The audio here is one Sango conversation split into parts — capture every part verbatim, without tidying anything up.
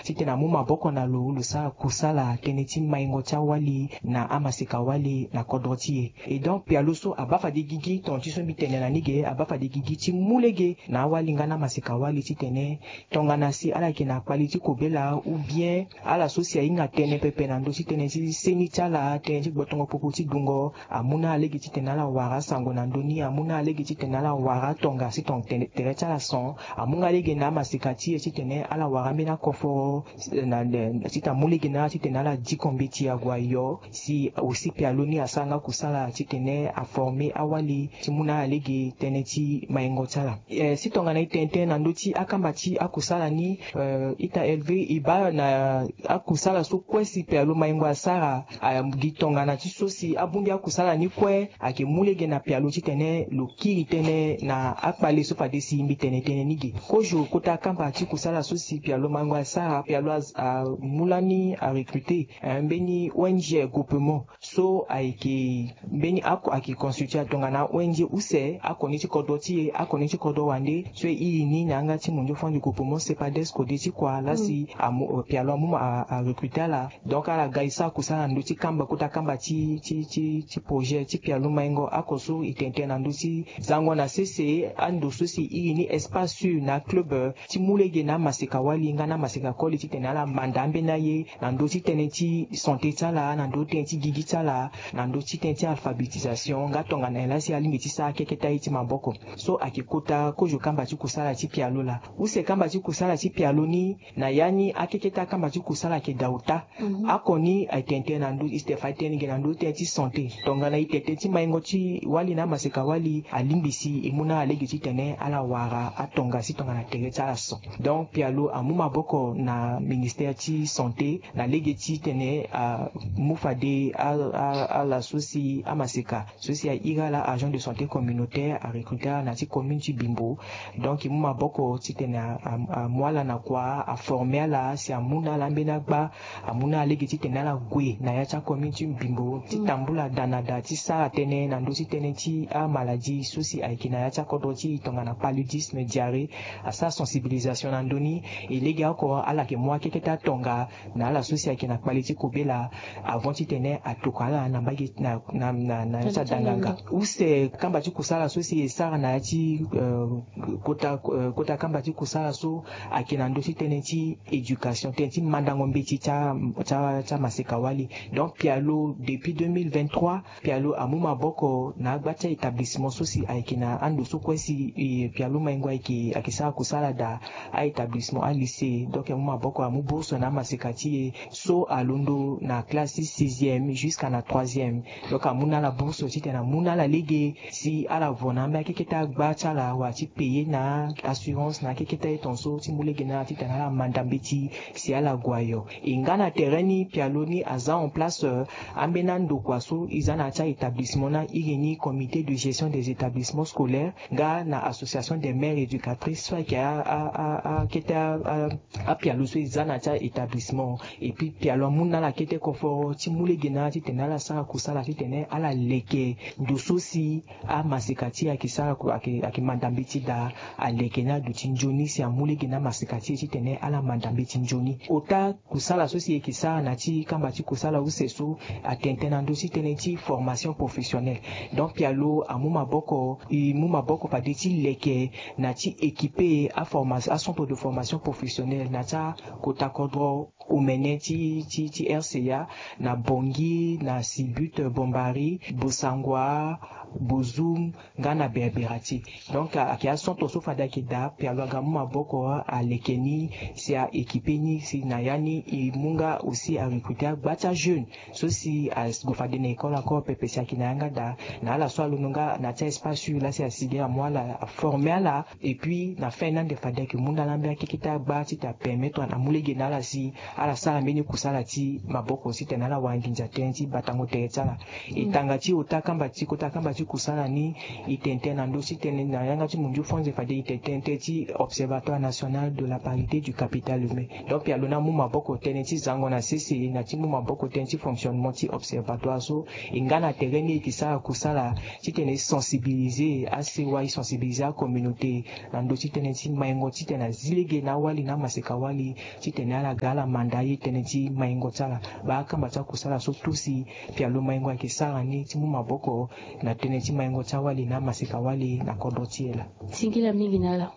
titene amu maboko na lo, lo sara kusala tënë ti maingo ti awali na amaseka wali na kodro ti e. Et donc pialo so abaa fade gigi, tonga ti so mbi tene na ni ge, abaa fade gigi ti mu lege na awali nga na amaseka wali titene tongana si ala yeke na kpali ti kobela ou bien ala so si ahinga tënë pepe na ndö ti tënë ti seni ti ala, tënë ti gbotongo popo ti dungo, amu na ala lege titene ala wara asango na ndö ni, amu na ala lege titene ala wara atonga si tong tere ti ala son, amu nga lege na amaseka ti e titene ala wara ambeni akoforo, na, na, titene amu lege na ala titene ala diko mbeti ague ayo, si aussi pialo ni asara nga kusala titene aforme awali ti mu na ala lege tënë ti maingo ti ala. Eh, si tongana e tene tënë na ndö ti akamba ti akusala ni, eh, ita Elve, e baa na akusala so kue si pialo maingo asara, ah, gi tongana ti so si abongbi akusala ni kue ayeke mu lege na pialo titene lo kiri tënë na akpale so fade si mbi tene tënë ni ge. Kozo kota kamba ti kusala so si pialo maingo asara, pialo a, amu lani arecruter, eh, mbeni O N G Groupement so ayeke mbeni ako ayeke constitue tongana O N G use, ako ni ti kodro ti e, ako ni ti kodro wande so e iri ni na yanga ti mondio fond du groupement CEPADES kode ti kua laa si amu, eh, pialo amu ma a, arecruter ala. Donc ala ga e sara kusala na ndö ti kamba, kota kamba ti, ti, ti, ti projet ti pialo maingo, ako so e tene tënë na ndö ti zango na sese ando so si e iri ni espace sûr na club, eh, ti mu lege na amaseka wali nga na amaseka koli titene ala manda ambeni aye na ndö ti tënë ti santé ti ala, na ndö ti tënë ti gigi ti ala, na ndö ti tënë ti alphabétisation, nga tongana nyen laa si alingbi ti sara akeketa ye ti maboko. So ayeke kota kozo kamba ti kusala ti pialo laa. Use kamba ti kusala ti pialo ni, na ya ni akeketa kamba ti kusala ayeke daa ota. Mhm. Ako ni ayeke tene tënë na ndö, e tene fade tënë ge na ndö ti tënë ti santé. Tongana e tene tënë ti maingo ti wali na amaseka wali, alingbi si e mu na ala lege titene ala wara atonga si tongana tere ti ala son. Donc pialo amu maboko na ministère ti santé na lege titene amu fade a, a, ala so si amaseka so si a iri ala agent de santé communautaire, arecruter ala na ya ti commune ti Bimbo. Donc e mu maboko titene a, a, amu ala na kua, aforme ala si amu na ala ambeni agba, amu na ala lege titene ala gue na ya ti acommune ti Bimbo ti tambula daa na daa ti sara tënë na ndö ti tënë ti amaladie so si ayeke na ya ti akodro ti e tongana paludisme, diarrhée. Asara sensibilisation na ndö ni. E lege oko ala yeke mu akeketa atonga na ala so si ayeke na kpali ti kobela avant titene atokua ala na mbage na, na, na, na ya ti adanganga. Use kamba ti kusala so si e sara na ya ti, eh, kota, eh, kota kamba ti kusala so ayeke na ndö ti tënë ti éducation, tënë ti mandango mbeti ti a, ti a, ti amaseka wali. Donc pialo depuis deux mille vingt-trois, pialo amu maboko na agba ti a-établissement so si ayeke na ando so kue si, eh, pialo maingo ayeke, ayeke sara kusala daa, a-établissement, alycée. Donc amu maboko, amu bourse na amaseka ti e so alondo na classe ti sixième jusqu'à na troisième. Donc amu na ala bourse titene amu na ala lege si ala vo na ambeni akeketa agba ti ala wala ti payer na assurance na akeketa ye tongaso ti mu lege na ala titene ala manda mbeti si ala gue ayo. E nga na tere ni pialo ni aza en place, eh, ambeni andokua so e za na ya ti a-établissement ni, a iri ni comité de gestion des établissements scolaires nga na association des mères éducatrices so ayeke a, a, a, akete a, a, apialo so e za na ya ti a-établissement. Et puis pialo amu na ala kete koforo ti mu lege na ala titene ala sara kusala titene ala leke ndo so si amaseka ti e ayeke sara ku-, ayeke, ayeke manda mbeti daa, aleke ni aduti nzoni si amu lege na amaseka ti e titene ala manda mbeti nzoni. Ota kusala so si e yeke sara na ya ti kamba ti kusala use so atene tënë na ndö ti tënë ti formation professionnelle. Donc pialo amu maboko, e mu maboko fade ti leke na ya ti équiper aforma-, acentre de formation professionnelle na ya ti akota kodro omene ti, ti, ti R C A, na Bangui, na Sibut, Bambari, Bossangoa, Bozoum, nga na Berberati. Donc a, ayeke acentre so fade ayeke daa, pialo aga amu maboko aleke ni si a-équiper ni si na ya ni e mu nga aussi arecruter agba ti ajeune so si ague fade na école encore pepe si ayeke na yanga daa, na ala so alondo nga na ya ti espace sûr laa si asi ge amu ala, aformer ala. Et puis na fin ni ande fade ayeke mu na ala ambeni akeketa agba titene apermettre na amu lege na ala si ala sara mbeni kusala ti maboko titene ala wara nginza tënë ti batango tere ti ala. E tanga ti ota kamba ti, kota kamba ti Kusala ni, e tene tënë na ndö ti tënë na yanga ti munzu franze fade e tene tënë ti Observatoire National de la Parité du Capital Humain. Donc pialo ni amu maboko tënë ti zango na sese na ti mu maboko tënë ti fonctionnement ti observatoire so. E nga na tere ni e yeke sara kusala ti tene e sensibiliser asewa, e sensibiliser acommunauté na ndö ti tënë ti maingo ti tene azi lege na awali na amaseka wali ti tene ala ga ala manda aye tënë ti maingo ti ala. Baa akamba ti akusala so tout si pialo maingo ayeke sara ni ti mu maboko na tënë ti maingo ti awali na amaseka wali na kodro ti e laa. Singila mingi na ala.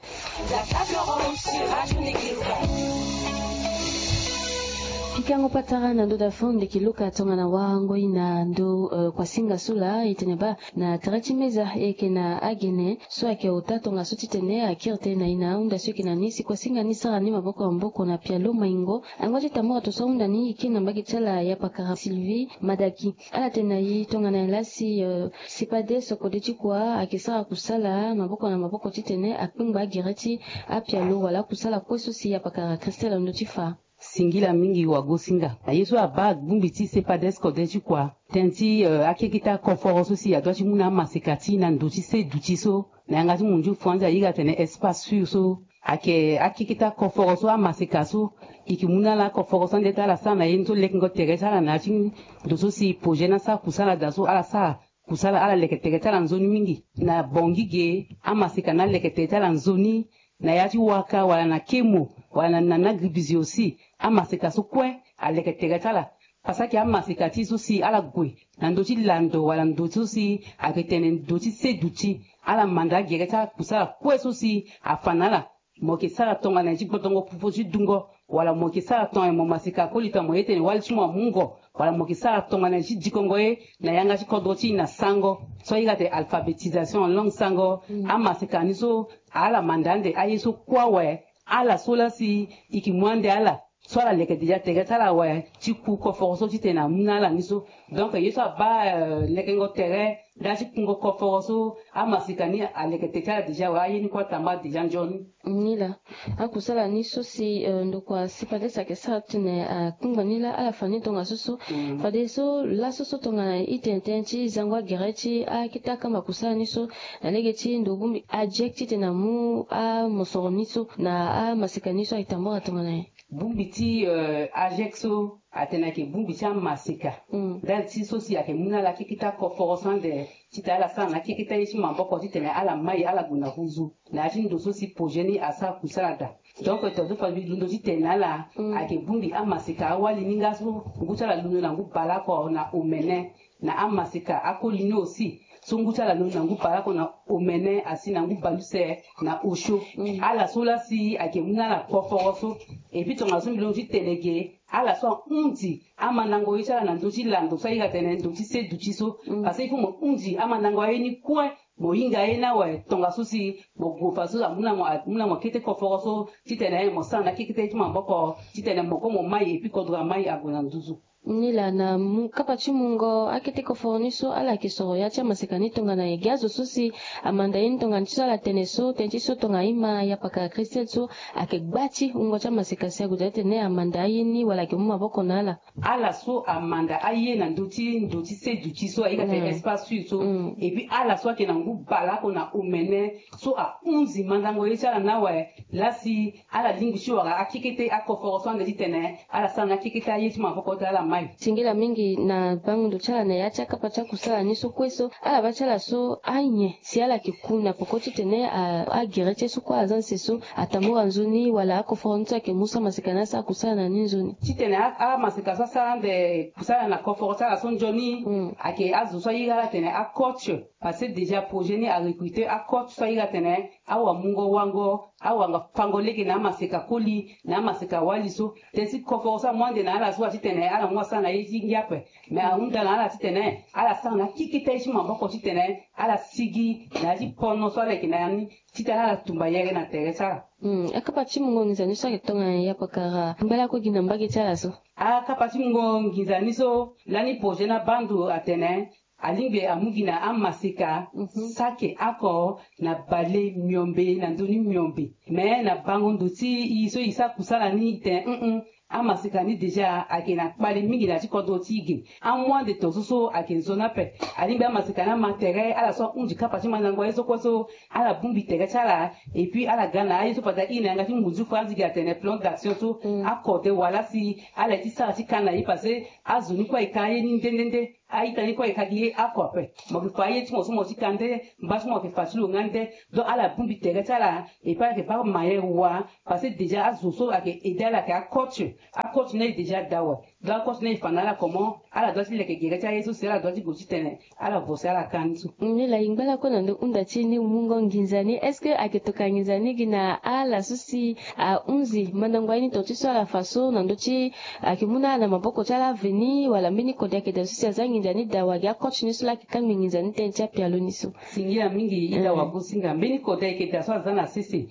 Pikango patara na ndö dafo ndeki luka tongana warango i na ndö, eh, kuasinga so laa e tene baa na tere ti meza e yeke na agene so ayeke ota tongaso ti tene akiri tënë na i na ahunda so e yeke na ni si kuasinga ni sara ni maboko na maboko na pialo maingo. Ango ti tambura to so ahunda ni e kiri na mbage ti ala ya pakara Sylvie Madaki. Ala tene na e tongana nyen laa si, eh, CEPADES kode ti kua ayeke sara kusala maboko na maboko ti tene akpengba agere ti apialo wala akusala kue so si apakara Christelle ando ti fa. Singila mingi wagosinga. Na ye so abaa bongbi ti CEPADES kode ti kua tënë ti, eh, akeketa koforo so si adua ti mu na amaseka ti e na ndo ti se duti so. Na yanga ti munzu franzi airi atene espace sûr so. Ayeke akeketa koforo so amaseka so e yeke mu na ala koforo so ande ti ala sara na ye ni so lekengo tere ti ala na ya ti ndo so si projet ni asara kusala daa so ala sara kusala ala leke tere ti ala nzoni mingi. Na Bangui ge amaseka ni aleke tere ti ala nzoni. Na ya ti Ouakam wala na Kémo wala na, na, na Gribizio aussi amaseka so kue aleke tere ti ala. Parce que amaseka ti e so si ala gue na ndö ti lando wala ndö so si ayeke tene ndö ti se duti, ala manda agere ti ala kusala kue so si afa na ala. Mo yeke sara tongana nyen ti gbotongo pupu ti dungo, wala mo yeke sara tongana nyen mo maseka koli tongana mo ye tene wali ti mo amungo, wala mo yeke sara tongana nyen ti dikongo ye na yanga ti kodro ti e na sango. So airi atene alphabétisation en langue sango. Amaseka ni so ala manda ande aye so kue awe. Ala so laa si e yeke mu ande ala so ala leke déjà tere ti ala awe ti ku koforo so titene amu na ala ni so. Donc ye so abaa, euh, lekengo tere nda ti kungo koforo so amaseka ni aleke tere ti ala déjà awe, aye ni kue atamba déjà nzoni. Ni laa akusala ni so si, euh, ndokua CEPADES ayeke sara titene akpengba ni laa ala fa ni tongaso so. Fadeso laso so tongana e tene tënë ti zango agere ti akete akamba kusala ni so na lege ti ndo bongbi AGEC titene amu amosoro ni so na amaseka ni so ayeke tambula tongana nyen? Bongbi ti, euh, AGEC so atene ayeke bongbi ti amaseka. Ndali ti so si ayeke mu na ala akeketa koforo so ande titene ala sara na akeketa ye ti maboko titene ala mai ala gue na huzu na ya ti ndo so si projet ni asara kusala daa. Donc tongaso fade mbi londo titene na ala ayeke bongbi amaseka awali ni nga so ngu ti ala londo na ngu baleoko na omene. Na amaseka akoli ni aussi so ngu ti ala londo na ngu baleoko na omene asi na ngu baluse na osio. Ala so laa si ayeke mu na ala koforo so. Et puis tongaso mbi londo ti tene ge ala so ahunzi amandango ye ti ala na ndö ti lando so airi atene ndo ti se duti so. Parce que il faut mo hunzi amandango aye ni kue. Mo hinga ye ni awe tongaso si mo gue fa so amu na mo, amu na mo kete koforo so titene mo sara na akekete ye ti maboko titene mo kue mo mai et puis kodro amai ague na nduzu. Ni laa na mu kapa ti mungo akete koforo ni so ala yeke soro ya ti amaseka ni tongana nyen? Ge azo so si amanda ye ni tongana ti so ala tene so tënë ti so tongana ima ya pakara Christelle so ayeke gba ti wungo ti amaseka si ague daa titene amanda aye ni wala ayeke mu maboko na ala. Ala so amanda aye na ndö ti ndo ti se duti so airi atene espace sûr so. Et puis ala so ayeke na ngu baleoko na omene so ahunzi mandango ye ti ala ni awe. Laa si ala lingbi ti wara akekete akoforo so ande titene ala sara na akekete aye ti maboko ti ala mai. Singila mingi na bango ndo ti ala na ya ti akapa ti akusala ni so kue so ala baa ti ala so anyen si ala yeke ku na peko titene a, agere ti ye so kue aza nse so atambula nzoni wala akoforo ni so ayeke mu so amaseka ni asara kusala na ni nzoni. Titene a, amaseka so asara ande kusala na koforo ti ala so nzoni. Ayeke azo so airi ala tene acoach. Parce que déjà projet ni arecruter acoach so airi atene awamungo wango, awanga fango lege na amaseka koli na amaseka wali so. Tënë ti koforo so amu ande na ala so atitene ala mu asara na ye ti ngia ape. Mais ahunda na ala titene ala sara na akekete ye ti maboko titene ala sigi na ya ti pono so ala yeke na ya ni titene ala tumba yere na tere ti ala. Hmm, akapa ti mungo nginza ni so ayeke tongana nyen ya pakara mbela kue gi na mbage ti ala so? Akapa ti mungo nginza ni so lani projet ni abaa ndo atene alingbi amu gi na amaseka saki oko na bale miombe na ndö ni miombe. Me na bango ndo ti e so e sara kusala ni e tene, Amaseka ni déjà ayeke na kpale mingi na ya ti kodro ti e ge. Amu ande tongaso so ayeke nzoni ape. Alingbi amaseka ni ama tere ala so ahunzi kapa ti mandango aye so kue so, ala bongbi tere ti ala. Et puis ala ga na aye so fade airi na yanga ti munzu fo, anzigi atene plan d'action so, akode wala si ala ye ti sara ti ka na ye, parce que azo ni kue ayeke ka aye ni nde nde nde. A-ita ni kue ayeke ka gi ye oko ape. Mo yeke fa aye ti mo so mo ti ka nde, mba so mo yeke fa ti lo nga nde. Donc ala bongbi tere ti ala. Et puis ala yeke baa manière wa, parce que déjà azo so ayeke aidé ala ayeke acoach. Acoach ni aye déjà da awe. Donc acoach ni aye fa na ala comment ala doit ti leke gere ti aye so si ala doit ti gue titene ala vosi ala ka ni so. Ni la, e ngba lakue na ndö hunda ti e ni, mungo nginza ni, est-ce que ayeke tokua nginza ni gi na ala so si ahunzi mandango aye ni tonga ti so ala fa so na ndö ti, ayeke mu na ala na maboko ti ala veni, wala mbeni kode ayeke daa so si aza nginza ni daa wa gi acoach ni so laa ayeke kangbi nginza ni tënë ti apialo ni so? Singila mingi, ita wagosinga. Mbeni kode ayeke daa so aza na sese,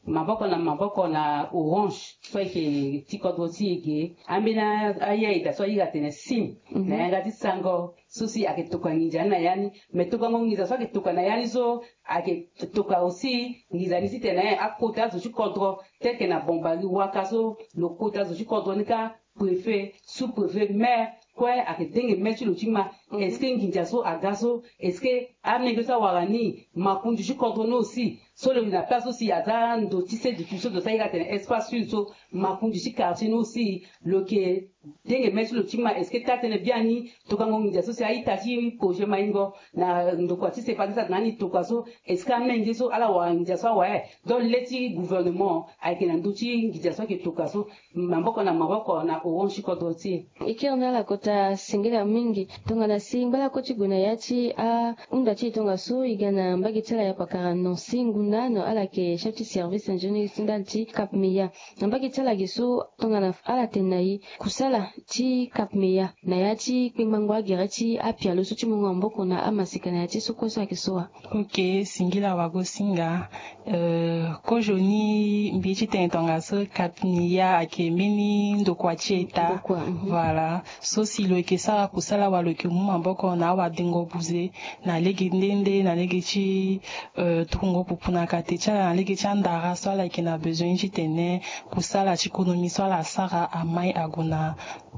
maboko na maboko na Orange so ayeke ti kodro ti e ge. Ambeni aye ayeke daa so aye atene sim na yanga ti sango so si ayeke tokua nginza ni na ya ni. Me tokuango nginza so ayeke tokua na ya ni so, ayeke tokua aussi nginza ni titene akota azo ti kodro, tel que na Bombari waka so, lo kota azo ti kodro ni kâ, préfet, sous-préfet, maire kue ayeke denge main ti lo ti ma. Est-ce que nginza so aga so, est-ce que amenge so awara ni, makonzi ti kodro ni aussi, so lo na place so si aza ndo ti sede ti so lo sa iri atene espace sud so, makonzi ti quartier ni aussi lo yeke denge main ti lo ti ma. Est-ce que taa-tënë biani tokango nginza so si a-ita ti projet Maingo na ndokua ti sepa ti sa na ni tokua so, est-ce que amenge so ala wara nginza so awe? Donc le ti gouvernement ayeke na ndö ti nginza so ayeke tokua so, maboko na maboko na Orange ti kodro ti e. E kiri na ala kota singila mingi. Tongana si ngba lakue ti gue na ya ti ahunda ti e tongaso, e ga na mbage ti ala ya pakara Nancy Ngunda, no ala yeke chef ti service ingénieur ti ndali ti Cap Meya. Na mbage ti ala ge so, tongana ala tene na e kusala ti Cap Meya na ya ti kpengbango agere ti apialo so ti mungo maboko na amaseka na ya ti so kue so ayeke so wa? Ok, singila wagosinga. Euh, kozoni mbi ye ti tene tongaso Cap Meya ayeke mbeni ndokua ti État. Ndokua, mhm. Voilà. So si lo yeke sara kusala wa lo yeke mu maboko na awadengo buze na lege nde nde, na lege ti, euh, tukungo pupu na kate ti ala, na lege ti andara so ala yeke na besoin titene kusala ti konomi so ala sara amai ague na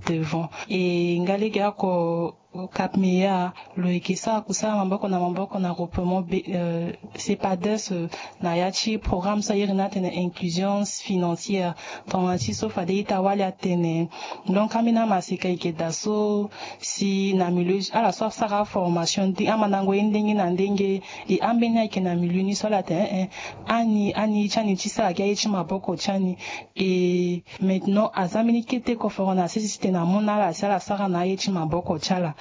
devant. E nga lege oko Cap Meya lo yeke sara kusala maboko na maboko na groupement be, euh, CEPADES, euh, na ya ti programme so a iri ni atene inclusion financière. Tongana ti so fade ita wali atene. Donc ambeni amaseka e yeke daa so si na milieu ala so asara formation nde amandango ye ndenge na ndenge. E ambeni ayeke na milieu ni so ala tene, eh, eh, ani, ani ti ani ti sara gi aye ti maboko ti ani. E maintenant aza mbeni kete koforo na sese titene amu na ala si ala sara na aye ti maboko ti ala.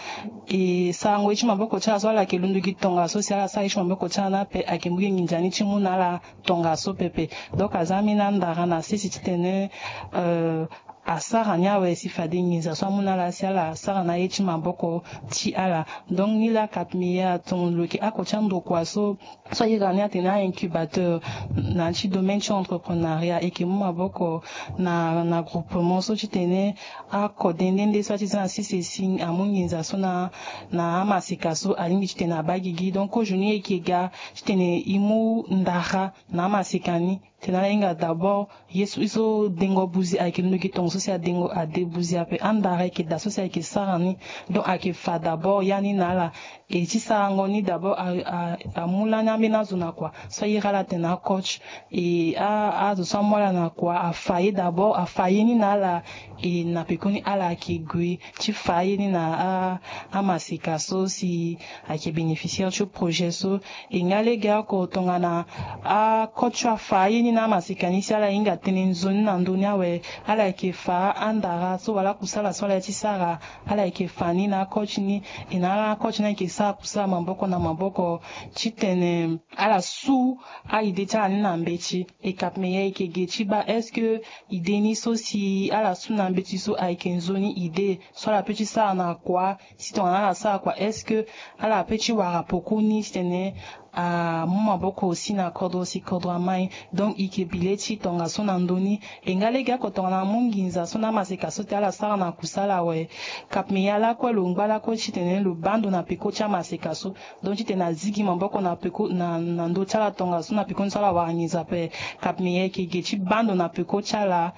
E sarango ye ti maboko ti ala so ala yeke londo gi tongaso si ala sara ye ti maboko ti ala ni ape, ayeke mu gi nginza ni ti mu na ala tongaso pepe. Donc aza mbeni andara na sese titene, euh, asara ni awe si fade nginza so amu na ala si ala sara na aye ti maboko ti ala. Donc ni laa Cap Meya atongo lo yeke oko ti andokua so, so a iri ni atene a-incubateur na ya ti domaine ti entrepreneuriat, e yeke mu maboko na, na groupement so titene akode nde nde so a ti za na sese si amu nginza so na, na amaseka so alingbi titene abaa gigi. Donc kozoni e yeke ga titene e mu ndara na amaseka ni. Tena ala hinga d'abord ye so, ye so dengo buzi ayeke londo gi tongo so si adengo ade buzi ape. Andara ayeke daa so si ayeke sara ni. Donc ayeke fa d'abord ya ni na ala. E ti sarango ni d'abord a, a, amu lani ambeni azo na kua so a iri ala atene acoach. E a, azo so amu ala na kua afa ye d'abord, afa ye ni na ala. E na pekoni ala yeke gue ti fa ye ni na a, amaseka so si ayeke bénéficiaire ti projet so. E nga lege oko tongana acoach afa ye ni na amaseka ni si ala hinga tënë nzoni na ndö ni awe, ala yeke fa andara so wala akusala so ala ye ti sara, ala yeke fa ni na acoach ni. E na ala acoach ni ayeke sara kusala maboko na maboko titene ala su a-idée ti ala ni na mbeti. E Cap Meya e yeke ge ti baa est-ce que idée ni so si ala su na mbeti so ayeke nzoni idée so ala peut ti sara na kua? Si tongana ala sara kua, est-ce que ala peut ti wara peko ni titene amu maboko aussi na kodro si kodro amai? Donc e yeke bi le ti tongaso na ndö ni. E nga lege oko tongana amu nginza so na amaseka so titene ala sara na kusala awe, Cap Meya lakue lo ngba lakue titene lo baa ndo na peko ti amaseka so. Donc titene azi gi maboko na peko na, na ndö ti ala tongaso na pekoni so ala wara nginza ape. Cap Meya e yeke ge ti baa ndo na peko ti ala.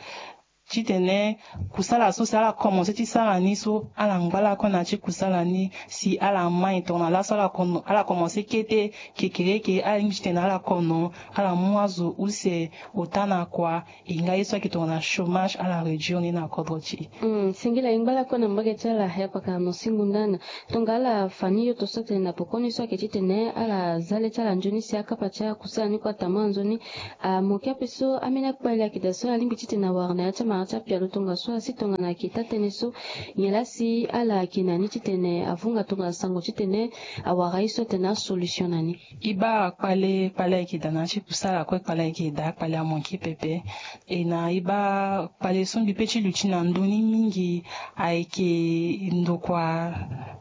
titene kusala so si ala komanse ti sara ni so ala ngba lakue na ya ti kusala ni si ala mai tongana laso ala kono- ala komanse kete kekereke, ala lingbi titene ala kono ala mu azo use ota na kua. E nga ye so ayeke tongana chômage ala réduire ni na kodro ti e. Hmm, singila e ngba lakue na mbage ti ala, ya pakara Nancy Ngundana. Tongana ala fa ni yo to so atene na pokoni so ayeke titene ala za le ti ala nzoni si akapa ti akusala ni kue atama nzoni. Amoke ape so ambeni akpale ayeke daa so alingbi titene awara na ya ti amara ti apialo tongaso asi tongana ayeke taa tënë so nyen laa si ala yeke na ni titene avunga tongana sango titene awara ye so atene asolution na ni. E baa kpale kpale ayeke daa na ya ti kusala kue, kpale ayeke daa kpale amoke pepe. E na e baa kpale so mbi pe ti luti na ndö ni mingi ayeke ndokua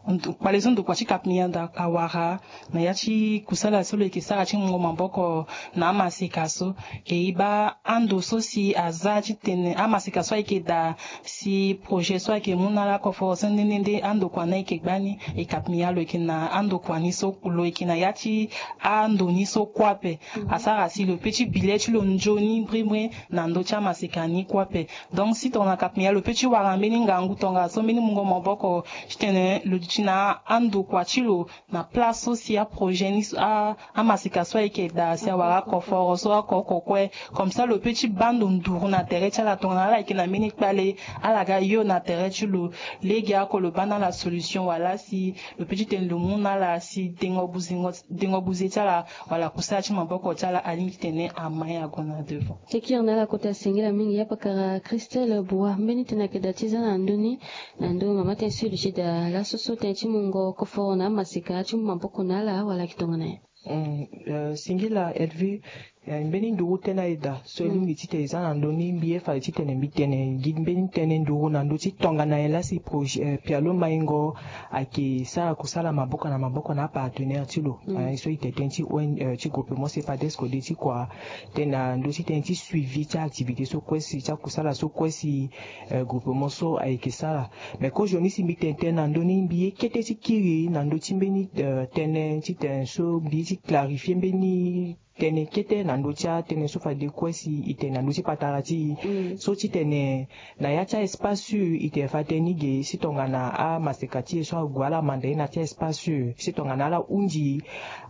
ndo- kpale so ndokua ti Cap Mianda awara na ya ti kusala so lo yeke sara ti mungo maboko na amaseka so. E e baa ando so si aza titene amaseka so ayeke daa si projet so ayeke mu na ala koforo so nde nde nde andokua ni ayeke gbani. E Cap Mianda lo yeke na andokua ni so lo yeke na ya ti ando ni so kue ape. Asara si lo pe ti bi le ti lo nzoni mbrimbri na ndö ti amaseka ni kue ape. Donc si tongana Cap Mianda lo pe ti wara mbeni ngangu tongaso mbeni mungo maboko titene lo duti na andokua ti lo na place so si aprojet ni so a- amaseka so ayeke daa si awara akoforo so oko oko kue. Comme ça lo pe ti baa ndo nduru na tere ti ala tongana ala yeke na mbeni kpale, ala ga yo na tere ti lo. Lege oko lo baa na ala solution wala si lo pe ti tene lo mu na ala si dengo buzengo dengo buze ti ala wala kusala ti maboko ti ala alingbi titene amai ague na devant. Ti kiri na ala kota singila mingi ya pakara Christelle Boua, mbeni tënë ayeke daa ti za na ndö ni na ndö mama tënë so e luti daa laso so tënë ti mungo koforo na amaseka ti mu maboko na ala wala ayeke tongana nyen? Mm, eh, singila Elvie, eh, mbeni nduru tënë aye daa so e lingbi titene e za na ndö ni, mbi ye fade titene mbi tene gi mbeni tënë nduru na ndö ti tongana nyen laa si projet, eh, Pialo Maingo ayeke sara kusala maboko na maboko na apartenaire ti lo. Mm. Eh, so e tene tënë ti O N, eh, ti groupement CEPADES kode ti kua tënë na ndö ti tënë ti suivi ti activité so kue si ti akusala so kue si, eh, groupement so ayeke sara. Mais kozoni si mbi tene tënë na ndö ni mbi ye kete ti kiri na ndö ti mbeni, eh, tënë ti tene so mbi ye ti clarifier mbeni tënë kete na ndö ti atënë so fade kue si e tene na ndö ti patara ti e. Mm. So titene na ya ti a-espace sûr e tene fade tënë ni ge si tongana amaseka ti e so ague ala manda ye na ya ti a-espace sûr si tongana ala hunzi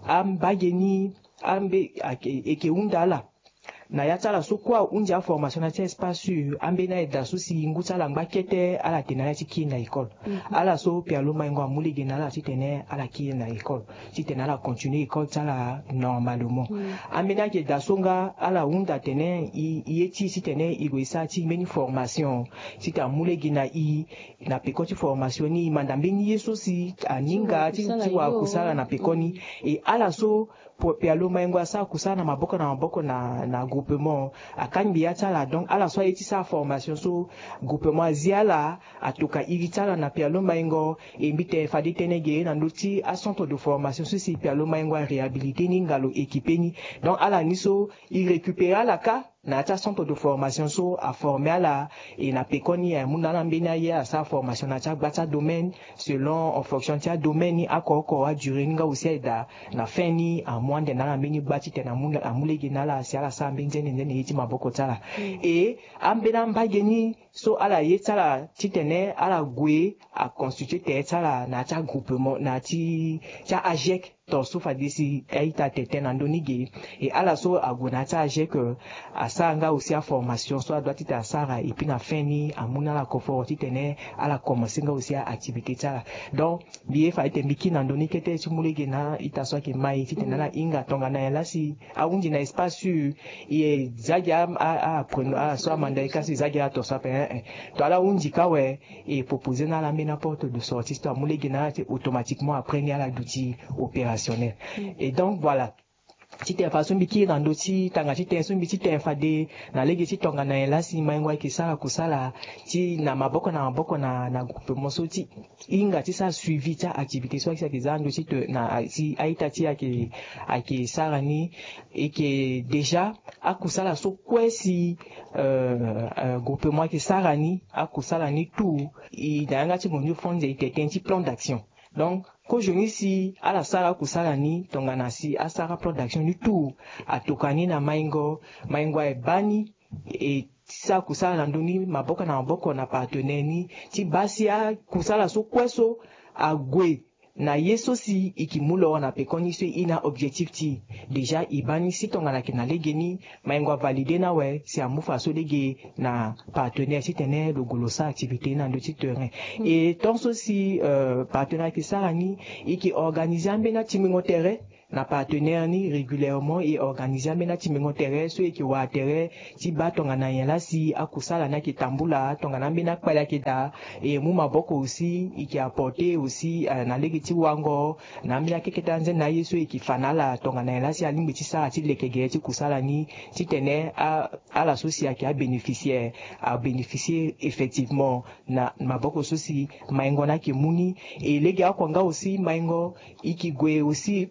ambage ni ambe ake- eke hunda ala na ya ti ala so kue ahunzi aformation na ya ti a-espace sûr ambeni aye daa so si ngu ti ala ngba kete ala tene na ala ti kiri na école. Mhm. Ala so Pialo Maingo amu lege na ala titene ala kiri na école titene ala continuer école ti ala normalement. Mm. Ambeni ayeke daa so nga ala hunda tene e, e ye ti e titene e gue e sara ti e mbeni formation titene amu lege na e na peko ti formation ni e manda mbeni ye so si aninga ti, ti wara kusala na peko ni. Mm. E ala so Pialo Maingo asara kusala na maboko na maboko na, na groupement akangbi ya ti ala. Donc ala so aye ti sara formation so groupement azi ala atoka iri ti ala na Pialo Maingo. E mbi tene fade tënë ge na ndö ti acentre de formation so si Pialo Maingo aréhabilité ni nga lo équipé ni. Donc ala ni so e récupérer ala kâ na ya ti acentre de formation so aformer ala. E na pekoni amu na ala mbeni aye asara formation na ya ti agba ti adomaine selon en fonction ti adomaine ni oko oko adurée ni nga aussi aye daa na fin ni amu ande na ala mbeni gba titene amu lege na ala si ala sara mbeni nzene nzene ye ti maboko ti ala. E ambeni ambage ni so ala ye ti ala titene ala gue aconstituer tere ti ala na ya ti agroupement na ya ti ti a-agec. Ton so fade si a-ita tene tënë na ndö ni ge. E ala so ague na ya ti a-agec asara nga aussi aformation so adoit titene asara et puis na fin ni amu na ala confort titene ala commencer nga aussi a-activité ti ala. Donc mbi ye fa ete mbi kiri na ndö ni kete ti mu lege na a-ita so ayeke mai titene ala hinga tongana nyen laa si ahunzi na espace sûr e za gi a, a, a, apprenant, ala so amanda e ka si e za gi ala ton so ape, eh, eh. Tongana ala hunzi ka awe, e proposer na ala ambeni aporte de sortie so amu lege na ala te automatiquement après ni ala duti opérationnel. Mm. Et donc voilà. Titene fadeso mbi kiri na ndö ti tanga ti tënë so mbi ti tene fade na lege ti tongana nyen laa si Maingo ayeke sara kusala ti na maboko na maboko na, na groupement so ti hinga ti sara suivi ti a-activité so ayeke za na ndö ti te na si a-ita ti e ayeke, ayeke sara ni. E yeke déjà akusala so kue si, euh, euh, groupement ayeke sara ni, akusala ni tout e na yanga ti ngonzo fo nze e tene tënë ti plan d'action. Donc kozoni si ala sara akusala ni tongana si asara plan d'action ni tout atokua ni na Maingo, Maingo aye baa ni e ti sara kusala na ndö ni maboko na maboko na partenaire ni ti baa si akusala so kue so ague na ye so si e ke mu loro na pekoni so e na objectif ti e. Déjà e baa ni si tongana ayeke na lege ni, maingo avalide ni awe si amu faso lege na partenaire titene lo gue lo sara activité na ndö ti terrain. Et tant so si partenaire ayeke sara ni, e ke organiser ambeni atimbingo tere na partenaire ni régulièrement, e organiser ambeni atimbingo tere so e ke wara tere ti baa tongana nyen laa si akusala ni ayeke tambula, tongana ambeni akpali ayeke daa. E mu maboko aussi, e ke apporter aussi na lege ti wango na ambeni akekete anzene na aye so e ke fa na ala tongana nyen laa si alingbi ti sara ti leke gere ti kusala ni, titene ala so si ayeke abénéficiaire abénéficier effectivement na maboko so si maingo ni ayeke mu ni. E lege oko nga aussi maingo e ke gue aussi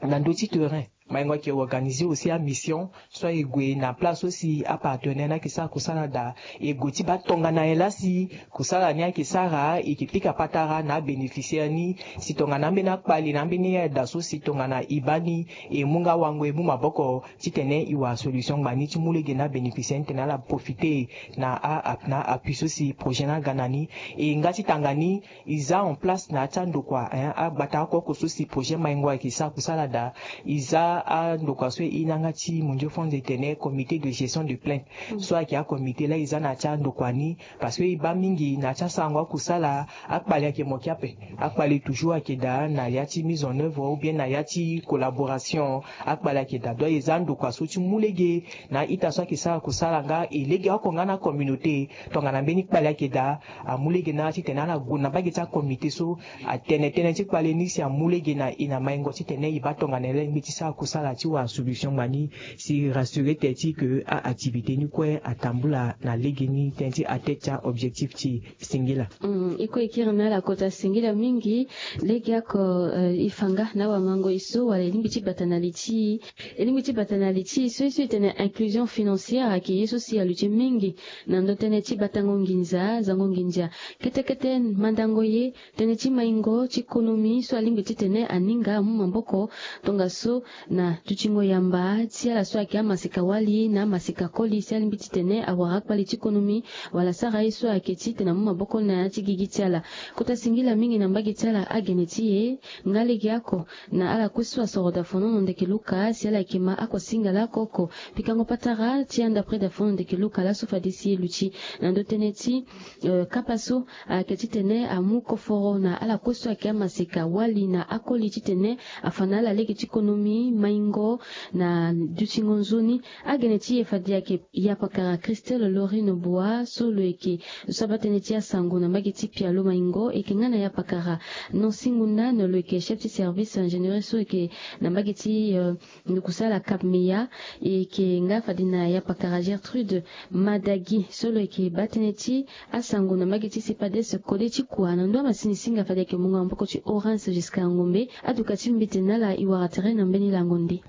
na ndö ti terrain. Maingo ayeke organiser aussi amission so aye gue na place so si apartenaire ni ayeke sara kusala daa. E gue ti baa tongana nyen laa si kusala ni ayeke sara, e ke pika patara na abénéficiaire ni si tongana ambeni akpali na ambeni ayeda so si tongana e baa ni, e mu nga wango, e mu maboko titene e wara solution ngbani ti mu lege na abénéficiaire ni titene ala profiter na a na appui so si projet ni aga na ni. E nga ti tanga ni, e za en place na ya ti andokua, hein, agbata oko oko so si projet maingo ayeke sara kusala daa. E za andokua so e na yanga ti mondio fond de tene comité de gestion de plainte so ayeke acomité laa e za na ya ti andokua ni. Parce que e baa mingi na ya ti asarango akusala, akpali ayeke moki ape. Akpali toujours ayeke daa na ya ti mise en œuvre ou bien na ya ti collaboration. Akpali ayeke daa. Donc e za andokua so ti mu lege na a-ita so ayeke sara kusala nga e lege oko nga na acommunauté. Tongana mbeni kpali ayeke daa, amu lege na ala titene ala gue na mbage ti acomité so atene tënë ti kpali ni si amu lege na e na maingo titene e baa tongana nyen laa e lingbi ti sara kusala ti wara solution ngbani si e rassurer tere ti e ke a-activité ni kue atambula na lege ni tënë ti atteindre ti a-objectif ti e. Singila. Mm, e kue e kiri na ala kota singila mingi. Legeoko, eh, e fa nga na awamango e so wala e lingbi ti bata na li ti e. E lingbi ti bata na li ti e so e so e tene inclusion financière ayeke ye so si aluti mingi na ndö tënë ti batango nginza, zango nginza. Kete kete mandango ye tënë ti maingo ti konomi so alingbi titene aninga amu maboko tongaso na dutingo yamba ti ala so ayeke amaseka wali na amaseka koli si alingbi titene awara akpali ti konomi wala asara ye so ayeke titene amu maboko na ya ti gigi ti ala. Kota singila mingi na mbage ti ala agene ti e nga legeoko na ala kue so asoro daa fonono ndeke luka si ala yeke ma ako singala oko oko. Pikango patara ti anda près daa fonono ndeke luka laso fade si e luti na ndö tënë ti, eh, kapa so ayeke titene amu koforo na ala kue so ayeke amaseka wali na akoli titene afa na ala lege ti konomi maingo na dutingo nzoni. Agene ti e fade ayeke yapakara Christelle Laurine Boa so lo yeke so abaa tënë ti asango na mbage ti pialo maingo. E yeke nga na yapakara Nancy Ngundane lo yeke chef ti service ingénierie so yeke na mbage ti, eh, ndukusala Cap Meya. E yeke nga fade na yapakara Gertrude Madagi so lo yeke baa tënë ti asango na mbage ti CEPADES kode ti kua. Na ndo amasini singa fade ayeke mungo na maboko ti Horace Giscard Ngombe. Aduka ti mbete na ala e wara tere na mbeni lango nde.